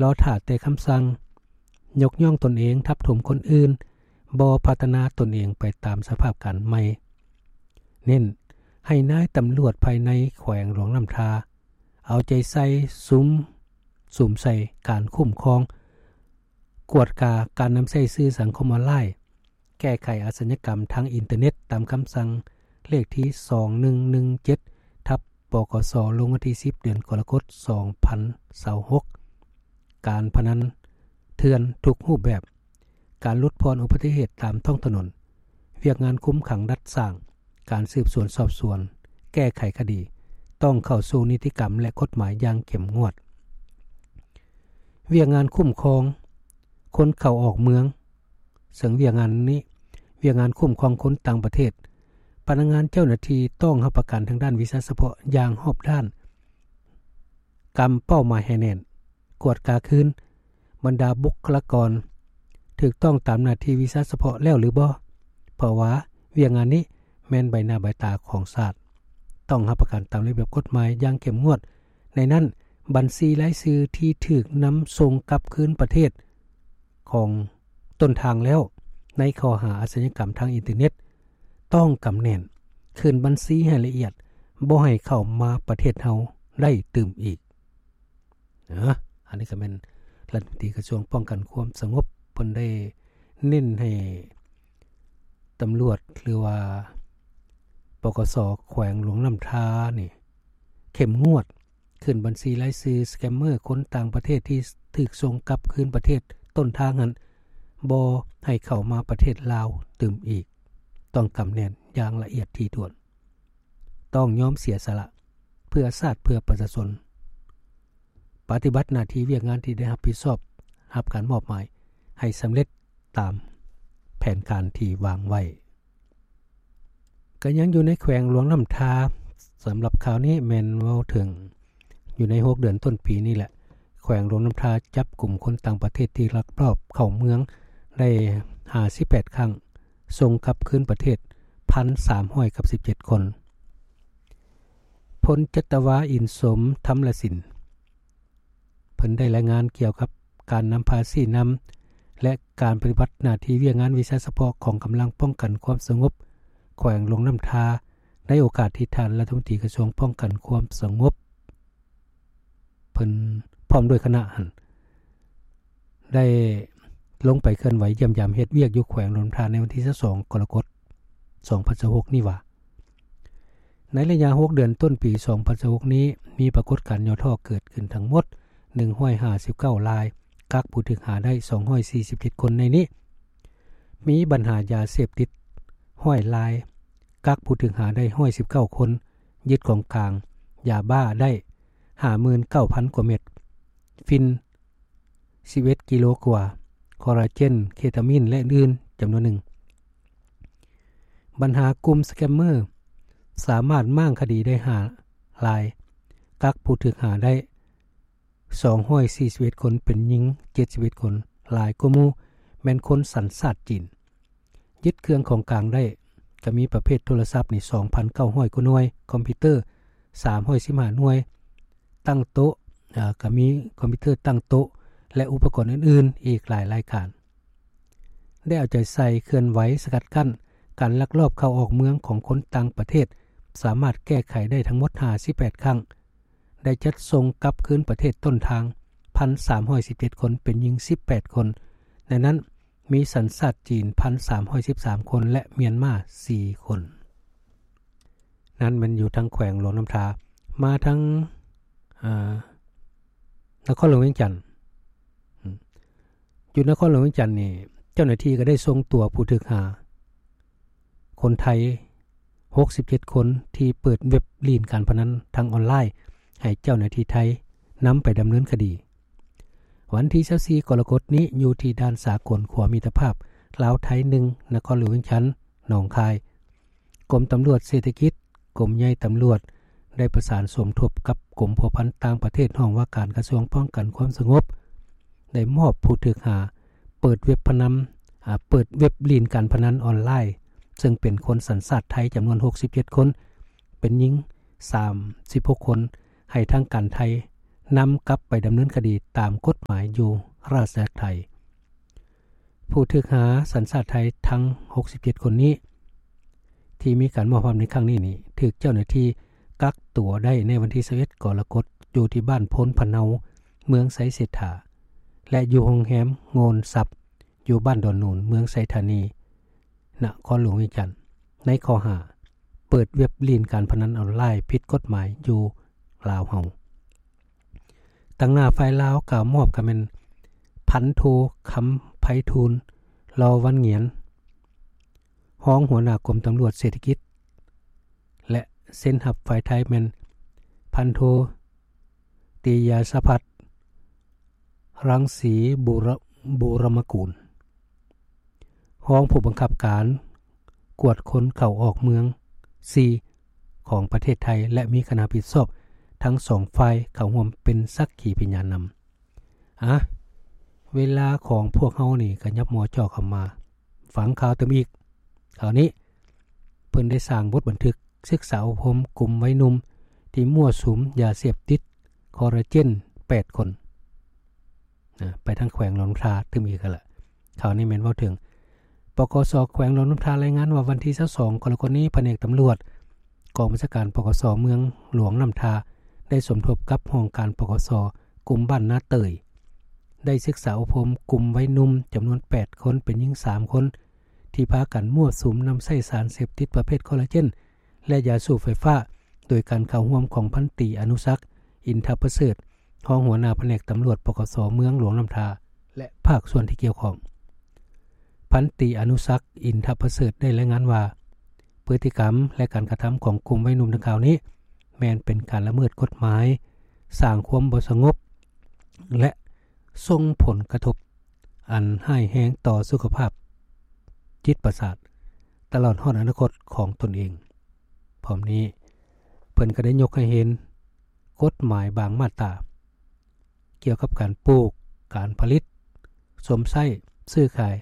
ລໍຖ້າແຕ່ຄຳສັ່ງ, ຍົກຍ້ອງຕົນເອງ ທັບຖົມຄົນອື່ນ, ບໍ່ພັດທະນາຕົນເອງໄປຕາມສະພາບການໃໝ່. ເນັ້ນໃຫ້ນາຍຕຳຫຼວດພາຍໃນແຂວງຫຼວງນ້ຳທາ ເອົາໃຈໃສ່ສຸມ ສຸມໃສ່ການຄຸ້ມຄອງ, ກວດກາການນຳໃຊ້ສື່ສັງຄົມອອນລາຍ, ແກ້ໄຂອາຊະຍາກຳທາງອິນເຕີເນັດ ຕາມຄຳສັ່ງເລກທີສອງໜຶ່ງໜຶ່ງເຈັດ ທັບ ປກສ ລົງວັນທີສິບ ເດືອນກໍລະກົດ ສອງພັນຊາວຫົກ. ການພະນັນເຖື່ອນທຸກຮູບແບບ, ການຫຼຸດຜ່ອນອຸບັດຕິເຫດຕາມທ້ອງຖະໜົນ, ວຽກງານຄຸມຂັງດັດສ້າງ, ການສືບສວນສອບສວນ, ແກ້ໄຂຄະດີ ຕ້ອງເຂົ້າສູ່ນິຕິກຳ ແລະ ກົດໝາຍຢ່າງເຂັ້ມງວດ. ວຽກງານຄຸ້ມຄອງຄົນເຂົ້າອອກເມືອງ, ເຊິ່ງວຽກງານນີ້ ວຽກງານຄຸ້ມຄອງຄົນຕ່າງປະເທດ, ພະນັກງານເຈົ້າໜ້າທີ່ຕ້ອງຮັບປະກັນທາງດ້ານວິຊາສະເພາະຢ່າງຮອບດ້ານ, ກຳເປົ້າໝາຍໃຫ້ແໜ້ນ, ກວດກາຄືນບັນດາບຸກຄະລາກອນຖືກຕ້ອງຕາມໜ້າທີ່ວິຊາສະເພາະແລ້ວຫຼືບໍ່, ເພາະວ່າວຽກງານນີ້ແມ່ນໃບໜ້າໃບຕາຂອງຊາດ. ຕ້ອງຮັບປະກັນຕາມລະບຽບກົດໝາຍຢ່າງເຂັ້ມງວດ, ໃນນັ້ນບັນຊີລາຍຊື່ທີ່ຖືກນຳສົ່ງກັບຄືນປະເທດຂອງຕົ້ນທາງແລ້ວ ໃນຂໍ້ຫາອາຊະຍາກຳທາງອິນເຕີເນັດ ຕ້ອງກຳແໜ້ນ, ຄືນບັນຊີໃຫ້ລະອຽດ, ບໍ່ໃຫ້ເຂົ້າມາປະເທດເຮົາໄດ້ຕື່ມອີກ. ເນາະ ອັນນີ້ກໍແມ່ນລັດຖະມົນຕີກະຊວງປ້ອງກັນຄວາມສະຫງົບ ເພິ່ນໄດ້ເນັ້ນໃຫ້ຕຳຫຼວດ ຫຼືວ່າ ປກສ ແຂວງຫຼວງນ້ຳທານີ້ເຂັ້ມງວດ, ຂຶ້ນບັນຊີລາຍຊື່ສະແກມເມີຄົນຕ່າງປະເທດທີ່ຖືກສົ່ງກັບຄືນປະເທດຕົ້ນທາງຫັ້ນ ບໍ່ໃຫ້ເຂົ້າມາປະເທດລາວຕື່ມອີກ, ຕ້ອງກຳແໜ້ນຢ່າງລະອຽດຖີ່ຖ້ວນ. ຕ້ອງຍອມເສຍສະຫຼະເພື່ອຊາດເພື່ອປະຊາຊົນ, ປະຕິບັດໜ້າທີ່ວຽກງານທີ່ໄດ້ຮັບຜິດຊອບ ຮັບການມອບໝາຍໃຫ້ສຳເລັດຕາມແຜນການທີ່ວາງໄວ້. ກໍຍັງຢູ່ໃນແຂວງຫຼວງນ້ຳທາ, ສຳລັບຂ່າວນີ້ແມ່ນເວົ້າເຖິງຢູ່ໃນຫົກເດືອນຕົ້ນປີນີ້ແຫຼະ, ແຂວງຫຼວງນ້ຳທາຈັບກຸມຄົນຕ່າງປະເທດທີ່ລັກລອບເຂົ້າເມືອງໄດ້ຫ້າສິບແປດຄັ້ງ, ສົ່ງກັບຄືນປະເທດ ພັນສາມຮ້ອຍສິບເຈັດຄົນ. ພົນຈັດຕະວາ ອິນສົມ ທຳລະສິນ ເພິ່ນໄດ້ລາຍງານກ່ຽວກັບການນຳພາຊີ້ນຳ ແລະ ການປະຕິບັດໜ້າທີ່ວຽກງານວິຊາສະເພາະຂອງກຳລັງປ້ອງກັນຄວາມສະຫງົບແຂວງຫຼວງນ້ຳທາ ໃນໂອກາດທີ່ທ່ານລັດຖະມົນຕີກະຊວງປ້ອງກັນຄວາມສະຫງົບ ເພິ່ນພ້ອມດ້ວຍຄະນະຫັ້ນ ໄດ້ລົງໄປເຄື່ອນໄຫວຢ້ຽມຢາມເຮັດວຽກຢູ່ແຂວງຫຼວງນ້ຳທາ ໃນວັນທີຊາວສອງ ກໍລະກົດ ສອງພັນຊາວຫົກນີ້ວ່າ, ໃນໄລຍະຫົກເດືອນຕົ້ນປີສອງພັນຊາວຫົກນີ້ ມີປາກົດການຫຍໍ້ທໍ້ເກີດຂຶ້ນທັງໝົດໜຶ່ງຮ້ອຍຫ້າສິບເກົ້າລາຍ, ກັກຜູ້ຖືກຫາໄດ້ສອງຮ້ອຍສີ່ສິບເຈັດຄົນ. ໃນນີ້ມີບັນຫາຢາເສບຕິດຮ້ອຍລາຍ, ກັກຜູ້ຖືກຫາໄດ້ຮ້ອຍສິບເກົ້າຄົນ, ຍຶດຂອງກາງຢາບ້າໄດ້ຫ້າໝື່ນເກົ້າພັນກວ່າເມັດ, ຝິ່ນສິບເອັດກິໂລກວ່າ, ຄໍລາເຈນ, ເຄຕາມິນ ແລະ ອື່ນໆຈຳນວນໜຶ່ງ. ບັນຫາກຸ່ມສະແກມເມີ ສາມາດມ້າງຄະດີໄດ້ຫ້າລາຍ, ກັກຜູ້ຖືກຫາໄດ້ສອງຮ້ອຍສີ່ສິບເອັດຄົນ, ເປັນຍິງເຈັດສິບເອັດຄົນ, ຫຼາຍກວ່າໝູ່ແມ່ນຄົນສັນຊາດຈີນ. ຍຶດເຄື່ອງຂອງກາງໄດ້ ກໍມີປະເພດໂທລະສັບນີ້ສອງພັນເກົ້າຮ້ອຍກວ່າໜ່ວຍ, ຄອມພິວເຕີສາມຮ້ອຍສິບຫ້າໜ່ວຍ, ຕັ້ງໂຕະ, ເອີ, ກໍມີຄອມພິວເຕີຕັ້ງໂຕະ ແລະ ອຸປະກອນອື່ນໆອີກຫຼາຍລາຍການ. ໄດ້ເອົາໃຈໃສ່ເຄື່ອນໄຫວສະກັດກັ້ນການລັກລອບເຂົ້າອອກເມືອງຂອງຄົນຕ່າງປະເທດ, ສາມາດແກ້ໄຂໄດ້ທັງໝົດຫ້າສິບແປດຄັ້ງ, ໄດ້ຈັດສົ່ງກັບຄືນປະເທດຕົ້ນທາງ ພັນສາມຮ້ອຍສິບເຈັດຄົນ, ເປັນຍິງສິບແປດຄົນ, ໃນນັ້ນມີສັນຊາດຈີນ ພັນສາມຮ້ອຍສິບສາມຄົນ ແລະ ມຽນມາສີ່ຄົນ. ນັ້ນແມ່ນຢູ່ທາງແຂວງຫຼວງນ້ຳທາ. ມາທາງ, ເອີ, ນະຄອນຫຼວງວຽງຈັນ. ຢູ່ນະຄອນຫຼວງວຽງຈັນນີ້ ເຈົ້າໜ້າທີ່ກໍໄດ້ສົ່ງຕົວຜູ້ຖືກຫາຄົນໄທຫົກສິບເຈັດຄົນ ທີ່ເປີດເວັບຫຼິ້ນການພະນັນທາງອອນລາຍ ໃຫ້ເຈົ້າໜ້າທີ່ໄທນຳໄປດຳເນີນຄະດີ. ວັນທີຊາວສີ່ ກໍລະກົດນີ້ ຢູ່ທີ່ດ່ານສາກົນຂົວມິດຕະພາບລາວໄທໜຶ່ງ ນະຄອນຫຼວງວຽງຈັນ ໜອງຄາຍ, ກົມຕຳຫຼວດເສດຖະກິດ, ກົມໃຫຍ່ຕຳຫຼວດ ໄດ້ປະສານສົມທົບກັບກົມພົວພັນຕ່າງປະເທດ ຫ້ອງວ່າການກະຊວງປ້ອງກັນຄວາມສະຫງົບ ໄດ້ມອບຜູ້ຖືກຫາເປີດເວັບພະນັນ, ອາ, ເປີດເວັບຫຼິ້ນການພະນັນອອນລາຍ ເຊິ່ງເປັນຄົນສັນຊາດໄທຈຳນວນຫົກສິບເຈັດຄົນ, ເປັນຍິງສາມສິບຫົກຄົນ ໃຫ້ທາງການໄທ ນຳກັບໄປດຳເນີນຄະດີຕາມກົດໝາຍຢູ່ຣາຊອານາຈັກໄທ. ຜູ້ຖືກຫາສັນຊາດໄທທັງຫົກສິບເຈັດຄົນນີ້ ທີ່ມີການມອບຮັບໃນຄັ້ງນີ້ນີ້ ຖືກເຈົ້າໜ້າທີ່ກັກຕົວໄດ້ໃນວັນທີຊາວເອັດກໍລະກົດ ຢູ່ທີ່ບ້ານໂພນພະເນົາ ເມືອງໄຊເສດຖາ ແລະ ຢູ່ໂຮງແຮມໂງນຊັບ ຢູ່ບ້ານດອນນູນ ເມືອງໄຊທານີ ນະຄອນຫຼວງວຽງຈັນ ໃນຂໍ້ຫາເປີດເວັບຫຼິ້ນການພະນັນອອນລາຍຜິດກົດໝາຍຢູ່ລາວເຮົາ. ຕາງໜ້າຝ່າຍລາວກ່າວມອບກໍແມ່ນ ພັນໂທ ຄຳໄພທູນ ລໍວັນງຽນ ຮອງຫົວໜ້າກົມຕຳຫຼວດເສດຖະກິດ ແລະ ເຊັນຮັບຝ່າຍໄທແມ່ນ ພັນໂທ ຕິຍາສະພັດ ລັງສີບູຣະ ບູຣະມະກູນ ຮອງຜູ້ບັງຄັບການກວດຄົນເຂົ້າອອກເມືອງສີ່ຂອງປະເທດໄທ ແລະ ມີຄະນະຮັບຜິດຊອບທັງສອງຝ່າຍເຂົ້າຮ່ວມເປັນສັກຂີພະຍານນຳ. ອາ ເວລາຂອງພວກເຮົານີ້ກະຫຍັບມໍ່ຈໍ້ເຂົ້າມາ ຟັງຂ່າວຕື່ມອີກ. ຄາວນີ້ເພິ່ນໄດ້ສ້າງບົດບັນທຶກສຶກສາອົບຮົມກຸ່ມໄວໜຸ່ມທີ່ມົ້ວສຸມຢາເສບຕິດຄໍລາເຈນແປດຄົນ ນະ ໄປທາງແຂວງຫຼວງນ້ຳທາຕື່ມອີກຫັ້ນລະ. ຂ່າວນີ້ແມ່ນເວົ້າເຖິງ ປກສ ແຂວງຫຼວງນ້ຳທາລາຍງານວ່າ ວັນທີຊາວສອງກໍລະກົດນີ້ ພະແນກຕຳຫຼວດ ກອງບັນຊາການ ປກສ ເມືອງຫຼວງນ້ຳທາ ໄດ້ສົມທົບກັບຫ້ອງການ ປກສ ກຸ່ມບ້ານນາເຕີຍ ໄດ້ສຶກສາອົບຮົມກຸ່ມໄວໜຸ່ມຈຳນວນແປດຄົນ ເປັນຍິງສາມຄົນ ທີ່ພາກັນມົ້ວສຸມນຳໃຊ້ສານເສບຕິດປະເພດຄໍລາເຈນ ແລະ ຢາສູບໄຟຟ້າ ໂດຍການເຂົ້າຮ່ວມຂອງພັນຕີ ອະນຸສັກ ອິນທະປະເສີດ ຮອງຫົວໜ້າພະແນກຕຳຫຼວດ ປກສ ເມືອງຫຼວງນ້ຳທາ ແລະ ພາກສ່ວນທີ່ກ່ຽວຂ້ອງ. ພັນຕີ ອະນຸສັກ ອິນທະປະເສີດ ໄດ້ລາຍງານວ່າ ພຶດຕິກຳ ແລະ ການກະທຳຂອງກຸ່ມໄວໜຸ່ມດັ່ງກ່າວນີ້ ແມ່ນເປັນການລະເມີດກົດໝາຍ, ສ້າງຄວາມບໍ່ສະຫງົບ ແລະ ສົ່ງຜົນກະທົບອັນຮ້າຍແຮງຕໍ່ສຸຂະພາບຈິດປະສາດ ຕະຫຼອດຮອດອະນາຄົດຂອງຕົນເອງ. ພ້ອມນີ້ ເພິ່ນກໍໄດ້ຍົກໃຫ້ເຫັນກົດໝາຍບາງມາດຕາ ກ່ຽວກັບການປູກ, ການຜະລິດ, ຊົມໃຊ້, ຊື້ຂາຍ,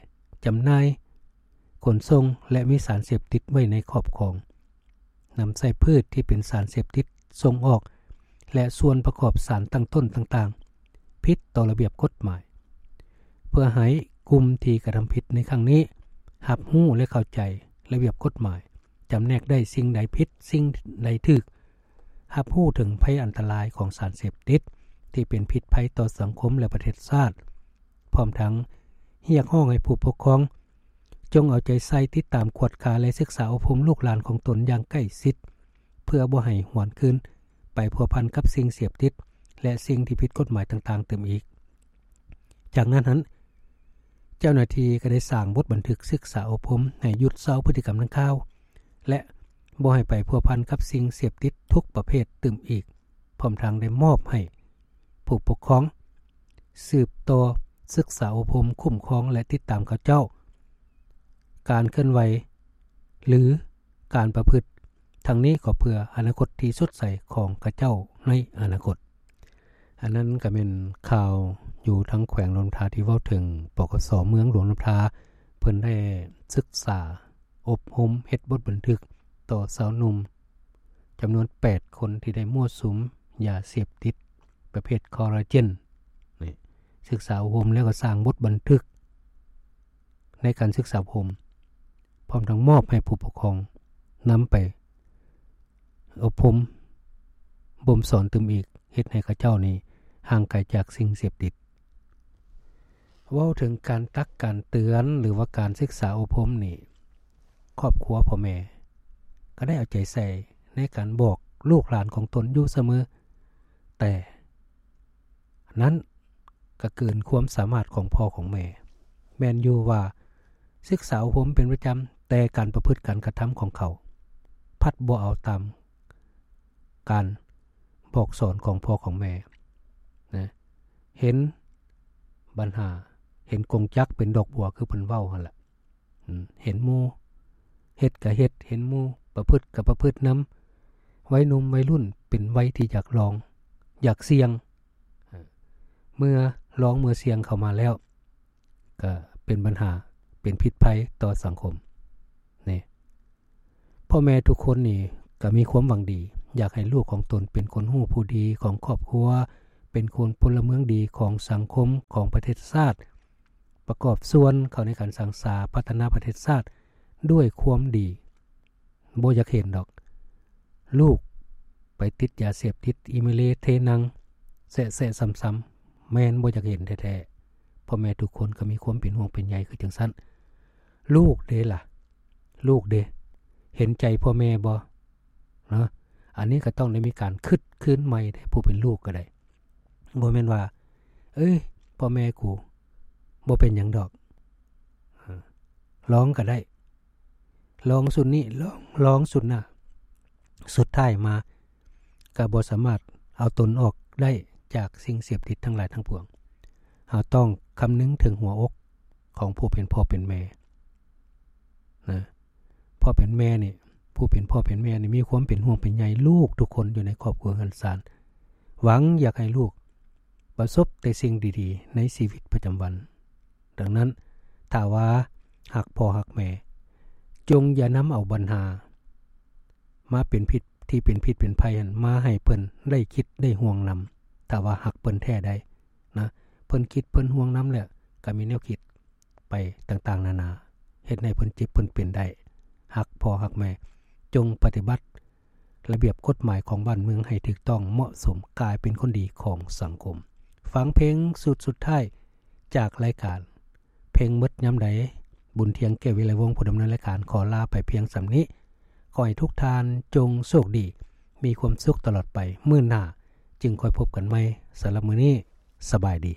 ຈຳໜ່າຍ, ຂົນສົ່ງ ແລະ ມີສານເສບຕິດໄວ້ໃນຄອບຄອງ, ນຳໃຊ້ພືດທີ່ເປັນສານເສບຕິດສົ່ງອອກ ແລະ ສ່ວນປະກອບສານຕັ້ງຕົ້ນຕ່າງໆ ຜິດຕໍ່ລະບຽບກົດໝາຍ, ເພື່ອໃຫ້ກຸ່ມທີ່ກະທຳຜິດໃນຄັ້ງນີ້ ຮັບຮູ້ ແລະ ເຂົ້າໃຈລະບຽບກົດໝາຍ, ຈຳແນກໄດ້ສິ່ງໃດຜິດ ສິ່ງໃດຖືກ, ຮັບຮູ້ເຖິງໄພອັນຕະລາຍຂອງສານເສບຕິດ ທີ່ເປັນພິດໄພຕໍ່ສັງຄົມ ແລະ ປະເທດຊາດ, ພ້ອມທັງຮຽກຮ້ອງໃຫ້ຜູ້ປົກຄອງ ຈົ່ງເອົາໃຈໃສ່ຕິດຕາມກວດກາ ແລະ ສຶກສາອົບຮົມລູກຫຼານຂອງຕົນຢ່າງໃກ້ຊິດ ເພື່ອບໍ່ໃຫ້ຫວນຄືນໄປພົວພັນກັບສິ່ງເສບຕິດ ແລະ ສິ່ງທີ່ຜິດກົດໝາຍຕ່າງໆຕື່ມອີກ. ຈາກນັ້ນຫັ້ນ ເຈົ້າໜ້າທີ່ກໍໄດ້ສ້າງບົດບັນທຶກສຶກສາອົບຮົມໃຫ້ຢຸດເຊົາພຶດຕິກຳດັ່ງກ່າວ ແລະ ບໍ່ໃຫ້ໄປພົວພັນກັບສິ່ງເສບຕິດທຸກປະເພດຕື່ມອີກ, ພ້ອມທັງໄດ້ມອບໃຫ້ຜູ້ປົກຄອງສືບຕໍ່ສຶກສາອົບຮົມ, ຄຸ້ມຄອງ ແລະ ຕິດຕາມເຂົາເຈົ້າ ການເຄື່ອນໄຫວ ຫຼື ການປະພຶດ, ທັງນີ້ກໍເພື່ອອະນາຄົດທີ່ສົດໃສຂອງເຂົາເຈົ້າໃນອະນາຄົດ. ອັນນັ້ນກໍແມ່ນຂ່າວຢູ່ທາງແຂວງຫຼວງນ້ຳທາ ທີ່ເວົ້າເຖິງ ປກສ ເມືອງຫຼວງນ້ຳທາ ເພິ່ນໄດ້ສຶກສາອົບຮົມເຮັດບົດບັນທຶກຕໍ່ຊາວໜຸ່ມຈຳນວນແປດຄົນ ທີ່ໄດ້ມົ້ວສຸມຢາເສບຕິດປະເພດຄໍລາເຈນນີ້, ສຶກສາອົບຮົມແລ້ວກໍສ້າງບົດບັນທຶກໃນການສຶກສາອົບຮົມ ພ້ອມທັງມອບໃຫ້ຜູ້ປົກຄອງນຳໄປ ອົບຮົມບົ່ມສອນຕື່ມອີກ, ເຮັດໃຫ້ເຂົາເຈົ້ານີ້ຫ່າງໄກຈາກສິ່ງເສບຕິດ. ເວົ້າເຖິງການຕັກການເຕືອນ ຫຼືວ່າການສຶກສາອົບຮົມນີ້, ຄອບຄົວພໍ່ແມ່ກໍໄດ້ເອົາໃຈໃສ່ໃນການບອກລູກຫຼານຂອງຕົນຢູ່ສະເໝີ, ແຕ່ ນັ້ນກໍເກີນຄວາມສາມາດຂອງພໍ່ຂອງແມ່. ແມ່ນຢູ່ວ່າສຶກສາອົບຮົມເປັນປະຈຳ, ແຕ່ການປະພຶດການກະທຳຂອງເຂົາ ພັດບໍ່ເອົາຕາມການບອກສອນຂອງພໍ່ຂອງແມ່ນະ. ເຫັນບັນຫາ, ເຫັນກົງຈັກເປັນດອກບົວ ຄືເພິ່ນເວົ້າຫັ້ນລະ. ເຫັນໝູ່ເຮັດກະເຮັດ, ເຫັນໝູ່ປະພຶດກະປະພຶດນຳ. ໄວໜຸ່ມໄວລຸ້ນເປັນໄວທີ່ຢາກລອງ, ຢາກສ່ຽງ. ເມື່ອລອງເມື່ອສ່ຽງເຂົ້າມາແລ້ວ ກະເປັນບັນຫາ, ເປັນພິດໄພຕໍ່ສັງຄົມ. ນີ້ ພໍ່ແມ່ທຸກຄົນນີ້ກະມີຄວາມຫວັງດີ, ຢາກໃຫ້ລູກຂອງຕົນເປັນຄົນຮູ້ຜູ້ດີຂອງຄອບຄົວ, ເປັ ປັນຄົນພົນລະເມືອງດີຂອງສັງຄົມ ຂອງປະເທດຊາດ ປະກອບສ່ວນເຂົ້າໃນການສ້າງສາພັດທະນາປະເທດຊາດດ້ວຍຄວາມດີ. ບໍ່ຢາກເຫັນດອກ ລູກໄປຕິດຢາເສບຕິດ ອີ່ເມເລເທນັງ ແຊະໆຊ້ຳໆ ແມ່ນບໍ່ຢາກເຫັນແທ້ໆ. ພໍ່ແມ່ທຸກຄົນກໍມີຄວາມເປັນຫ່ວງເປັນໃຍຄືຈັ່ງຊັ້ນ. ລູກເດ້ລະ ລູກເດ້ ເຫັນໃຈພໍ່ແມ່ບໍ່ເນາະ? ອັນນີ້ກໍຕ້ອງໄດ້ມີການຄິດຄືນໃໝ່ເດ້ ຜູ້ເປັນລູກກໍໄດ້. ບໍ່ແມ່ນວ່າ ເອີຍ ພໍ່ແມ່ກູບໍ່ເປັນຫຍັງດອກ ເອີ ລອງກໍໄດ້ ລອງຊຸດນີ້ ລອງ ລອງຊຸດໜ້າ ສຸດທ້າຍມາກໍບໍ່ສາມາດເອົາຕົນອອກໄດ້ຈາກສິ່ງເສບຕິດທັງຫຼາຍທັງປວງ. ເຮົາຕ້ອງຄຳນຶງເຖິງຫົວອົກຂອງຜູ້ເປັນພໍ່ເປັນແມ່ນະ. ພໍ່ເປັນແມ່ນີ້ ຜູ້ເປັນພໍ່ເປັນແມ່ນີ້ມີຄວາມເປັນຫ່ວງເປັນໃຍລູກທຸກຄົນຢູ່ໃນຄອບຄົວເຮືອນຊານ ຫວັງຢາກໃຫ້ລູກປະສົບແຕ່ສິ່ງດີໆໃນຊີວິດປະຈຳວັນ. ດັ່ງນັ້ນ ຖ້າວ່າຮັກພໍ່ຮັກແມ່ ຈົ່ງຢ່ານຳເອົາບັນຫາມາເປັນພິດ ທີ່ເປັນພິດເປັນໄພຫັ້ນ ມາໃຫ້ເພິ່ນໄດ້ຄິດໄດ້ຫ່ວງນຳ. ຖ້າວ່າຮັກເພິ່ນແທ້ໃດນະ ເພິ່ນຄິດເພິ່ນຫ່ວງນຳແລ້ວ ກໍມີແນວຄິດ ໄປຕ່າງໆນານາ ເຮັດໃຫ້ເພິ່ນເຈັບເພິ່ນເປັນໄດ້. ຮັກພໍ່ຮັກແມ່ ຈົ່ງປະຕິບັດລະບຽບກົດໝາຍຂອງບ້ານເມືອງໃຫ້ຖືກຕ້ອງເໝາະສົມ ກາຍເປັນຄົນດີຂອງສັງຄົມ. ຟັງເພງຊຸດສຸດທ້າຍຈາກລາຍການ ເພງໝົດຍາມໃດ. ບຸນທຽງ ແກ້ວວິໄລວົງ ຜູ້ດຳເນີນລາຍການ ຂໍລາໄປພຽງສ່ຳນີ້. ຂໍໃຫ້ທຸກທ່ານຈົ່ງໂຊກດີ ມີຄວາມສຸກຕະຫຼອດໄປ. ມື້ໜ້າຈຶ່ງຄ່ອຍພົບກັນໃໝ່. ສຳລັບມື້ນີ້ ສະບາຍດີ.